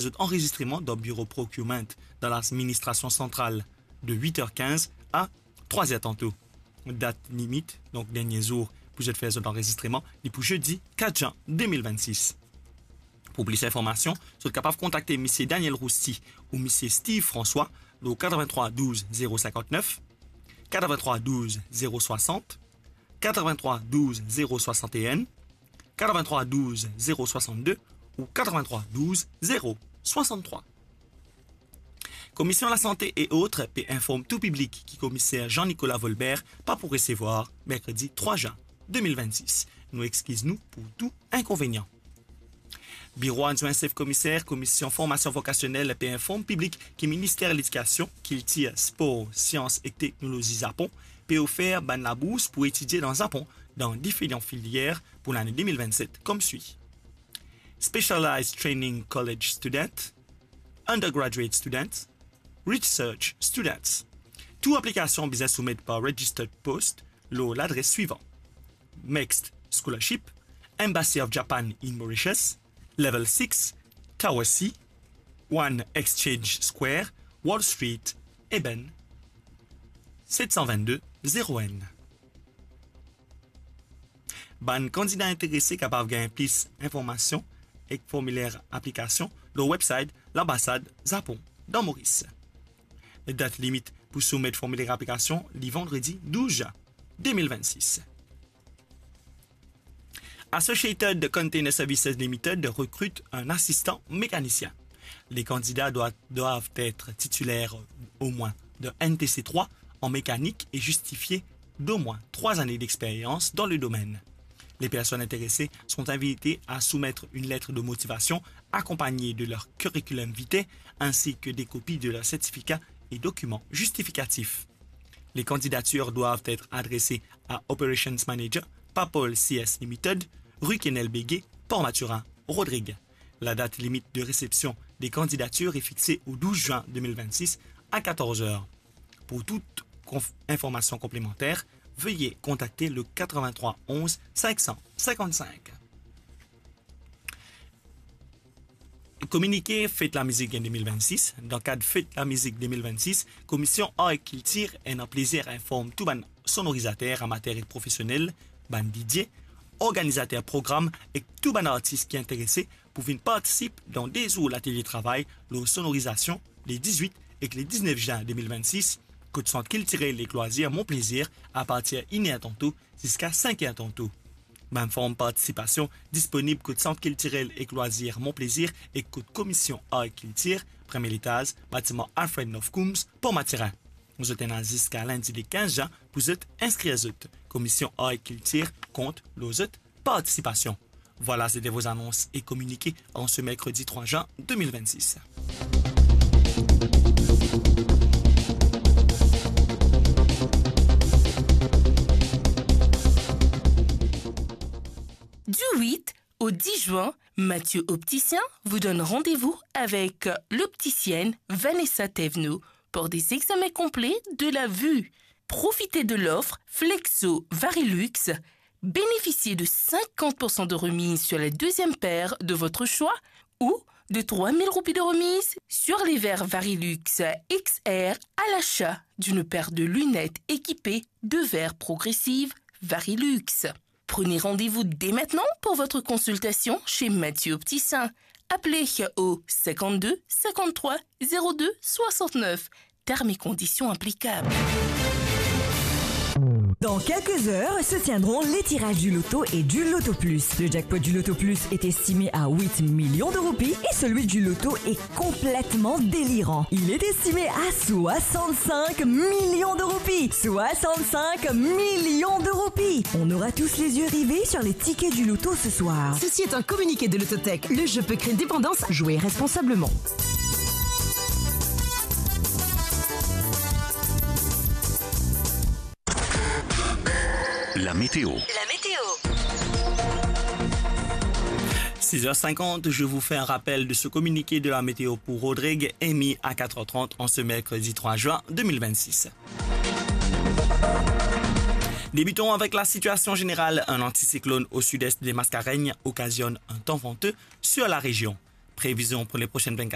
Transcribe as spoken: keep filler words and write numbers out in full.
zot anrezistreman dan biro procurement dan ladministrasion santral de wit er kinz a trwa er tanto. Dat limit, donk dernie zour pou zot fer zot anrezistreman, li pou zedi kat jan de mil vennsis. Pou plis informasion, zot kapav kontakte misie Daniel Rousti ou misie Steve François lor katreventrwa douz zero sinkantnef, katreventrwa douz zero swasant, katreventrwa douz zero swasantenn, katreventrwa douz zero swasannde ou katreventrwa douz zero swasantrwa. Komision Lasante e Ot pe inform tou piblik ki Komiser Jean-Nicolas Volbert pa pou resevwar merkredi trwa zin de mil vennsis. Nou exkiz nou pou tou inkonvenian. Biro Adwin Sef Komiser Komision Formasion Vokasionel pe inform piblik ki Minister Ledikasion, Kiltir, Spor, Sians ek Teknolozi Zapon pe ofer bann labours pou etidie dan Zapon dan diferan filier pou lane de mil vennset, koumsi: Specialized Training College Student, Undergraduate Student, Research Students. Tou aplikasion bizin soumet par Registered Post lor ladres swivan: MEXT Scholarship, Embassy of Japan in Mauritius, Level six, Tower C, One Exchange Square, Wall Street, Eben, set san vennde zero enn. Bann kandida interese kapav gagn plis informasion ek formiler aplikasion lor website Lanbasad Zapon dan Moris. Dat limit pou soumet formiler aplikasion li vandredi douz zin de mil vennsis. Associated Container Services Limited recrute un assistant mécanicien. Les candidats doivent, doivent être titulaires au moins de N T C trois en mécanique et justifier d'au moins trois années d'expérience dans le domaine. Les personnes intéressées sont invitées à soumettre une lettre de motivation accompagnée de leur curriculum vitae ainsi que des copies de leur certificat et documents justificatifs. Les candidatures doivent être adressées à Operations Manager, Papol C S Limited, rue Kenel Béguet, Port Mathurin, Rodrigues. La date limite de réception des candidatures est fixée au douze juin deux mille vingt-six à quatorze heures. Pour toute conf-, information complémentaire, veuillez contacter le quatre-vingt-trois onze cinq cent cinquante-cinq. Kominike Fet Lamizik de mil vennsis. Dan kad Fet Lamizik de mil vennsis, Komision Ar ek Kiltir ena plazer inform tou bann sonorizater amater ek profesionel, bann D J, organizater program ek tou bann artis ki interese pou vinn partisip dan de zour latelie travay lor sonorizasion le dizwit ek le diznef zin de mil vennsis, kot Sant Kiltirel ek Lwazir Mon Plezir apartir iner tanto ziska sink er tanto. Bann form partisipasion disponib kot Sant Kiltirel ek Lwazir Mon Plezir ek kot Komision Ar ek Kiltir, premie letaz, batiman Alfred North Coombs, Port Mathurin. Zot ena ziska lindi le kinz zin pou zot inskrir zot. Komision Ar ek Kiltir kont lor zot partisipasion. Voilà, c'était vos annonces et communiqués en ce mercredi trois juin deux mille vingt-six. Du huit au dix juin, Mathieu Opticien vous donne rendez-vous avec l'opticienne Vanessa Thévenot pour des examens complets de la vue. Profitez de l'offre Flexo Varilux. Bénéficiez de cinquante pour cent de remise sur la deuxième paire de votre choix ou de trois mille roupies de remise sur les verres Varilux X R à l'achat d'une paire de lunettes équipées de verres progressives Varilux. Prenez rendez-vous dès maintenant pour votre consultation chez Mathieu Opticien. Appelez au cinquante-deux cinquante-trois zéro deux soixante-neuf. Termes et conditions applicables. Dans quelques heures se tiendront les tirages du loto et du Loto Plus. Le jackpot du Loto Plus est estimé à huit millions de roupies et celui du loto est complètement délirant. Il est estimé à soixante-cinq millions de roupies. Soixante-cinq millions de roupies. On aura tous les yeux rivés sur les tickets du loto ce soir. Ceci est un communiqué de Lototech. Le jeu peut créer une dépendance. Jouez responsablement. La météo. La météo. Six heures cinquante, je vous fais un rappel de ce communiqué de la météo pour Rodrigues, émis à quatre heures trente en ce mercredi trois juin deux mille vingt-six. Débutons avec la situation générale. Un anticyclone au sud-est des Mascareignes occasionne un temps venteux sur la région. prévision pour les prochaines vingt-quatre